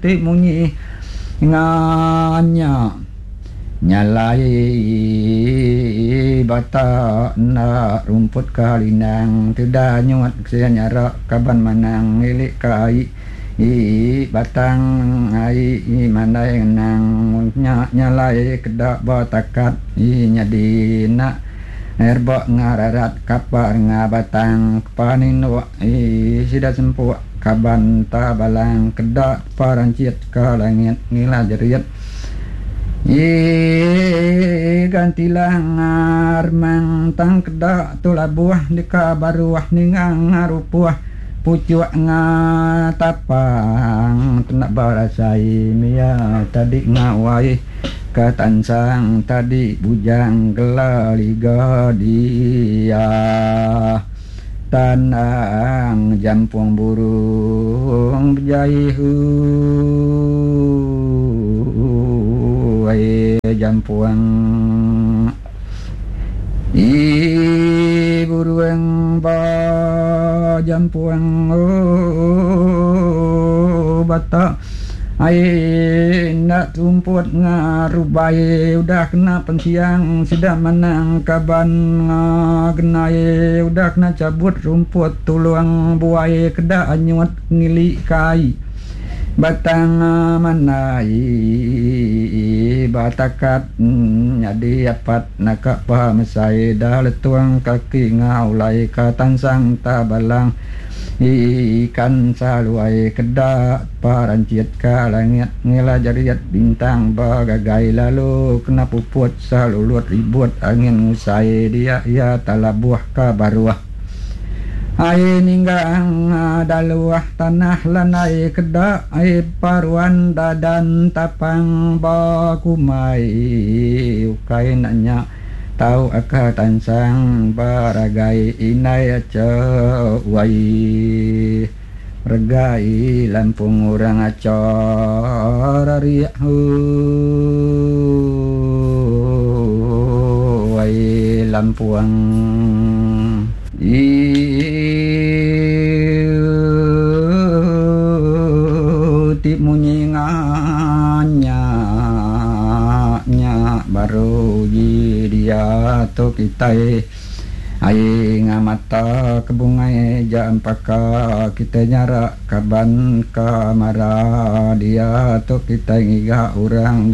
ti munyi nganya. Nyalai bata enda rumput ka linang teda nyuat sia nyara kaban manang ngilik ka ai batang ai mandai ngenang nya nyalai keda ba takat nyadi enda reba ngararat kapa renga batang kepa ninduk sida sempuk kaban ta balang keda kepa ranchit ka langit ngila jerit. Ii Gantilang remang tang keda tu labuh deka baruh ninga ngarupuh puchuk ngatapang kena berasai mia tadi ngawai ka tansang tadi bujang gela liga dia Tanang jampung burung bejai huai jampung ii burung ba jampung ooh batak. Ai enda terumput ngarubai udah kena pensiang sida manang kaban ngenai udah kena chabut rumput tulung buai keda anyut ngili ka ai batang mandai batakat nyadi apat naka pemesai da letung kaki ngaulai ka tansang tabalang. Ikan saluai keda paranchit ka langit ngila jariat bintang begagai lalu kena puput salulut ribut angin ngusai dia iya talabuh ka baruh. Ai ninggang daluh tanah landai keda ai paruan dadan tapang bekumbai ukai enda nya. Tau aka tansang beragai indai acha wai regai lampung orang acha rarik wai lampung. Ii ti munyi nganya nya baru ji dia tu kitai ai ngamata ke bungai ja empaka kitai nyara kaban ka mara dia tu kitai ngiga orang.